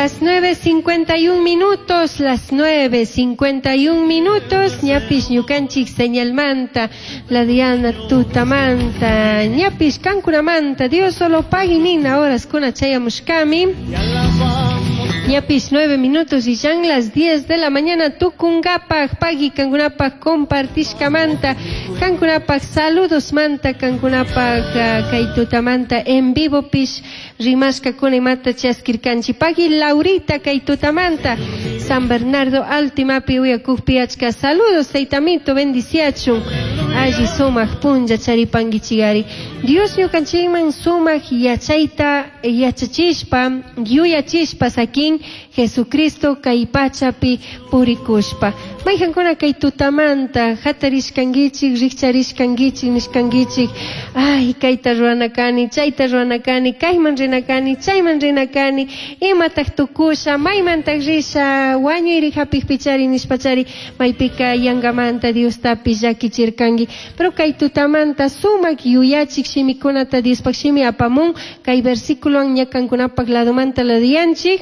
Las 9.51 minutos, las 9.51 minutos, ñapish ñukanchik señalmanta, la Diana tutamanta, ñapish kankunamanta, Dios solo pagui nina horas kuna chayamushkami. Ñapish 9 minutos y ya las 10 de la mañana tukunkapaj, pagui kankunapaj compartishkamanta, kankunapaj saludos manta, kankunapaj kay tutamanta en vivo pish rimashkakuna imata chaskirkanchik. Pagui Laurita kay tutamanta, San Bernardo Altimapi uyakukpi achka saludos, taytamito bendiciachun, alli sumak punlla charipanguichigari. Dios ñukanchikman sumak yachayta yachachishpa, yuyachishpa sakin Jesucristo kay pachapi purikushpa. Mayhankuna kay tutamanta hatarishkankichik, rikcharishkankichik, nishkankichik, ay kayta rurana kani, chayta rurana kani, kayman rina kani, chayman rina kani, imataq tukusha, maymantaq risha, wañuyri hapikpichari nishpachari, maypika yangamanta Diostapish llakichirkanki. Pero kay tutamanta sumak yuyachik shimikunata Diospaq shimi apamun, kay versículowan ña kankunapaq ladomanta laduyanchik.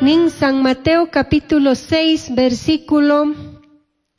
Nin San Mateo capítulo 6, versículo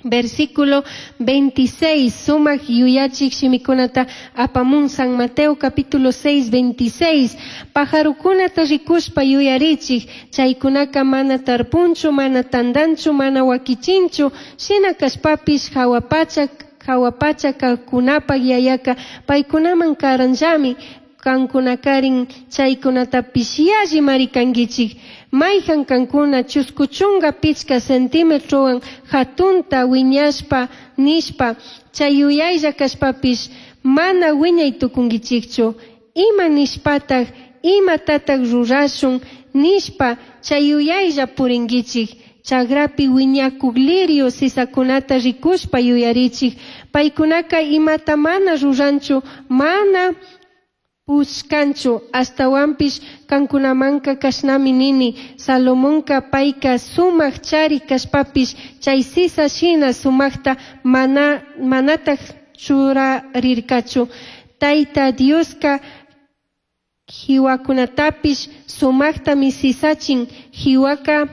26, sumak yuyachik shimikunata apamun San Mateo capítulo 6, 26, pajarukunata rikushpa yuyarichik, chaykunaka mana tarpunchu, mana tandanchu, mana wakichinchu, shina kashpapish hawa pacha kaqkunapaq yayaka paykunaman karanllami, kankunakarin chaykunatapish yalli marikankichik. Mayhan kankuna chuskuchunka pichka centímetrowan hatunta wiñashpa nishpa chay yuyaylla kashpapish mana wiñay tukunkichikchu. Ima nishpataq imatataq rurashun nishpa chay yuyaylla purinkichik. Chagrapi wiñakuk lirio sisakunata rikushpa yuyarichik. Paykunaka imata mana ruranchu, mana pushkanchu, astawanpish kankunamanka kashnami nini, Salomonka payka sumak chari kashpapish chay sisa shina sumakta manataq churarirkachu. Tayta Dioska hiwakunatapish sumaktami sisachin, hiwaka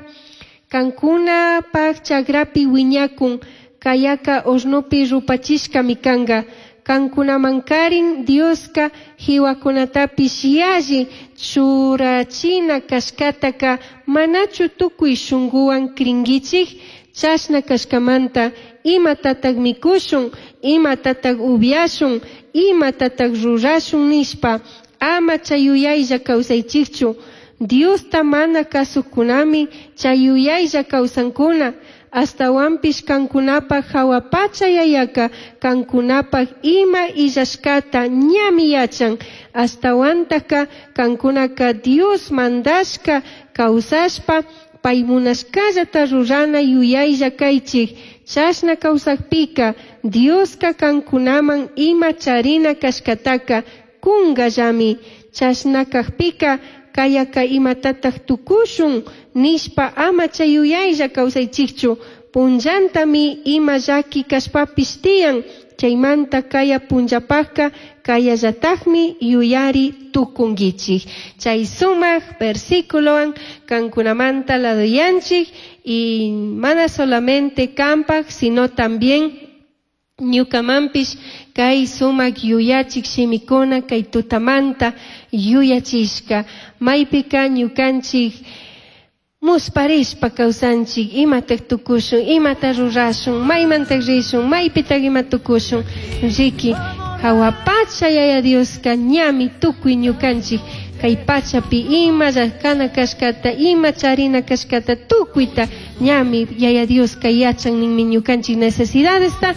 kankunapaq chagrapi wiñakun, kayaka hornopi rupachishkami kanka. Kankunamankarin Dioska hiwakunatapish yalli churachina kashkataka manachu tukuy shunkuwan krinkichik? Chashna kashkamanta imatataq mikushun, imatataq upyashun, imatataq rurashun nishpa ama chay yuyaylla kawsaychikchu. Diosta mana kasukunami chay yuyaylla kawsankuna. Astawanpish kankunapaq hawa pacha yayaka kankunapaq ima illashkata ñami yachan. Astawantaka kankunaka Dios mandashka kawsashpa pay munashkallata rurana yuyaylla kaychik. Chashna kawsakpika Dioska kankunaman ima charina kashkataka kungallami. Chashna kakpika kayaka imatataq tukushun nishpa ama chay yuyaylla kawsaychikchu. Punllantami ima llaki kashpapish tiyan, chaymanta kaya punllapaqka kayallataqmi yuyari tukunkichik. Chay sumak versículowan kankunamanta laduyanchik y mana solamente kanpaq sino también ñukamanpish kay sumak yuyachik shimikuna kay tutamanta yuyachishka. Maypika ñukanchik musparishpa kawsanchik, imataq tukushun, imata rurashun, maymantaq rishun, maypitaq ima tukushun. Riki hawa pacha yaya Dioska ñami tukuy ñukanchik kay pachapi ima llankana kashkata, ima charina kashkata tukuyta ñami yaya Dioska yachan ninmi ñukanchik necesidadesta.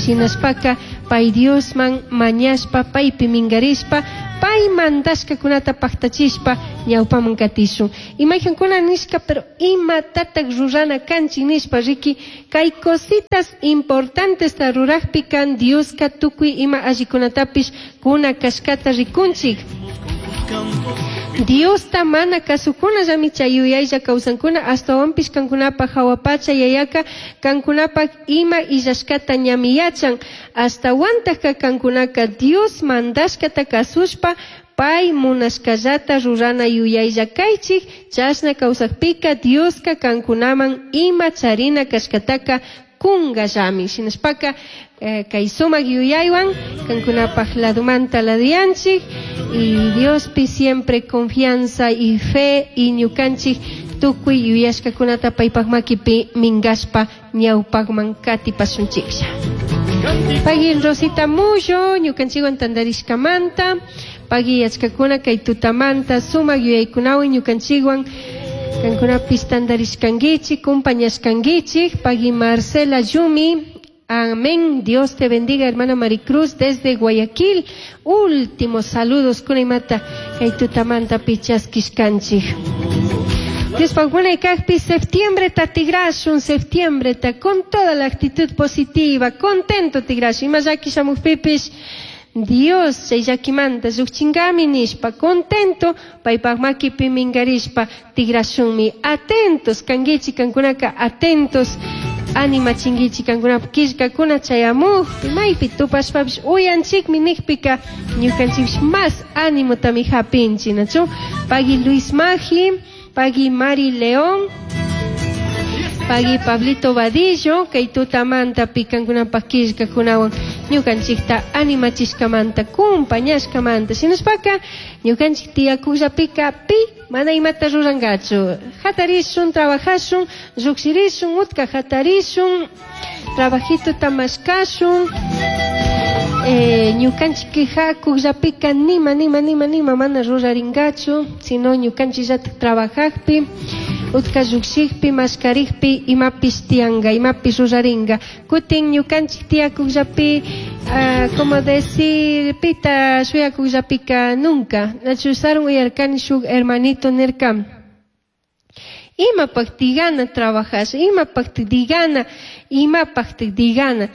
Shinashpaka pay Diosman mañashpa, paypi minkarishpa, pay mandashkakunata paktachishpa ñawpaman katishun. Imayhankuna nishka, pero imatataq rurana kanchik nishpa, riki kay cositas importantesta rurakpika Dioska tukuy ima allikunatapish kuna kashkata rikunchik. Diosta mana kasukunallami chay yuyaylla kawsankuna, astawanpish kankunapaq hawa pacha yayaka kankunapaq ima illashkata ñami yachan. Astawantaqka kankunaka Dios mandashkata kasushpa Pai munashkallata rurana yuyaylla kaychik, chashna kawsakpika Dioska kankunaman ima charina kashkataka kungallami. Shinashpaka kay sumak yuyaywan kankunapaj ladumanta laduyanchik y Diospi siempre confianza y fe y ñukanchik tukuy yuyashkakunata paypak makipi minkashpa ñawpakman katipashunchiklla. Pagui Rosita Mullo, ñukanchikwan tantarishkamanta, pagui yachkakuna kay tutamanta sumak yuyaykunawan ñukanchikwan kankunapis tantarishkankichik, compañashkankichik. Pagui Marcela Yumi, amén, Dios te bendiga, hermana Maricruz, desde Guayaquil. Últimos saludos, kunaymata kay tutamanta pichaskishkanchik. Diospaj munay kajpi septiembre ta tigrashun, septiembre ta con toda la actitud positiva, contento tigrashun. Ima llaki shamukpipish Dios chay llakimanta llukchingami nishpa, contento paypak makipi minkarishpa tigrashunmi. Atentos kankichik, kankunaka atentos animachinkichik kankunapak killkakuna chayamukpi, maypi tupashpapish uyanchikmi nikpika ñukanchikpish mas animotami hapinchik, nachu? Pagui Luis Magi, pagui Mari León, pagui Pablito Vadillo, kay tutamanta pikankunapak killkakunawan ñukanchikta animachishkamanta, kumpañashkamanta. Shinashpaka ñukanchik tiyakukllapika pi mana imata rurankachu. Hatarishun, trabajashun, llukshirishun, utka hatarishun, trabajito mashkashun. Ñukanchik quejakukllapika nima, nima, nima, nima mana rurarinkachu, sino ñukanchikllatak trabajajpi, utka llukshikpi, mashkarikpi, imapish tiyanka, imapish rurarinka. Kutin ñukanchik tiyakukllapi, como decir, pita shuyakukllapika nunca. Nachu sarun uyarkani shuk hermanito nirka, imapaq tigana trabajash, imapaq tigana, imapaq tigana.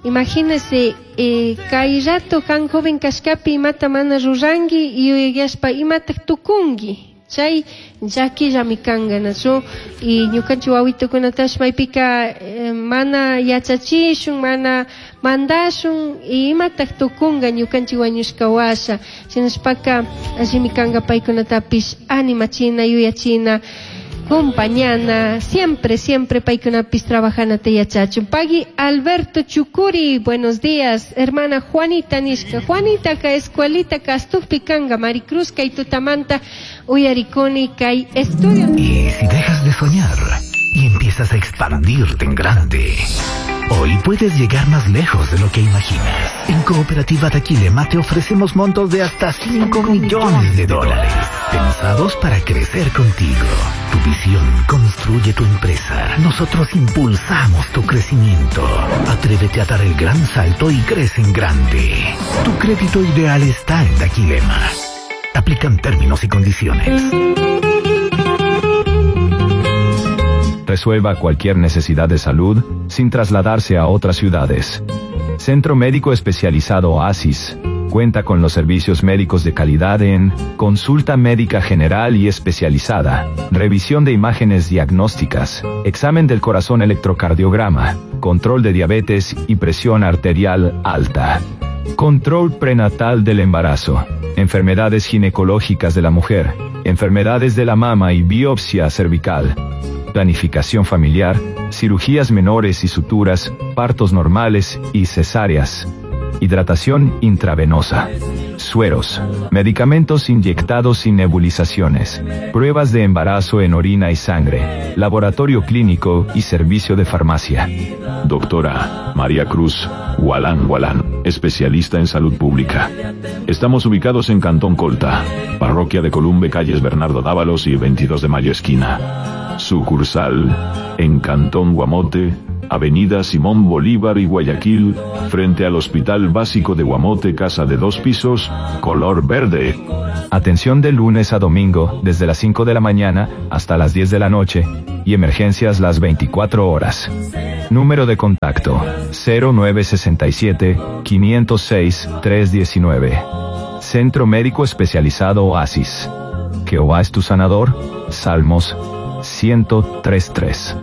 Imagínese, kay rato kan joven kashkapi imata mana ruranki yuyayashpa imataq tukunki. Chay llakillami kanka, nachu? Y ñukanchik wawitukunatash maypika mana yachachishun, mana mandashun, y imataq tukunka ñukanchik wañushka washa. Shinashpaka allimi kanka paykunatapish animachina, yuyachina, compañana, siempre, siempre paykunapis trabajanata yachachun. Pagui Alberto Chucuri, buenos días, hermana Juanita nishka. Juanita ka escuelita kastukpi kanga, Maricruz kay tutamanta uyarikuni kay estudio. Y si dejas de soñar y empiezas a expandirte en grande, hoy puedes llegar más lejos de lo que imaginas. En Cooperativa Daquilema te ofrecemos montos de hasta 5 millones de dólares, pensados para crecer contigo. Tu visión construye tu empresa. Nosotros impulsamos tu crecimiento. Atrévete a dar el gran salto y crece en grande. Tu crédito ideal está en Daquilema. Aplican términos y condiciones. Resuelva cualquier necesidad de salud sin trasladarse a otras ciudades. Centro Médico Especializado Oasis cuenta con los servicios médicos de calidad en consulta médica general y especializada, revisión de imágenes diagnósticas, examen del corazón electrocardiograma, control de diabetes y presión arterial alta, control prenatal del embarazo, enfermedades ginecológicas de la mujer, enfermedades de la mama y biopsia cervical, planificación familiar, cirugías menores y suturas, partos normales y cesáreas, hidratación intravenosa, sueros, medicamentos inyectados y nebulizaciones, pruebas de embarazo en orina y sangre, laboratorio clínico y servicio de farmacia. Doctora María Cruz Gualán Gualán, especialista en salud pública. Estamos ubicados en Cantón Colta, parroquia de Columbe, calles Bernardo Dávalos y 22 de Mayo esquina. Sucursal en Cantón Guamote, Avenida Simón Bolívar y Guayaquil, frente al Hospital Básico de Guamote, casa de 2 pisos, color verde. Atención de lunes a domingo, desde las 5 de la mañana hasta las 10 de la noche, y emergencias las 24 horas. Número de contacto, 0967 506 319. Centro Médico Especializado Oasis. Jehová es tu sanador. Salmos 103.3.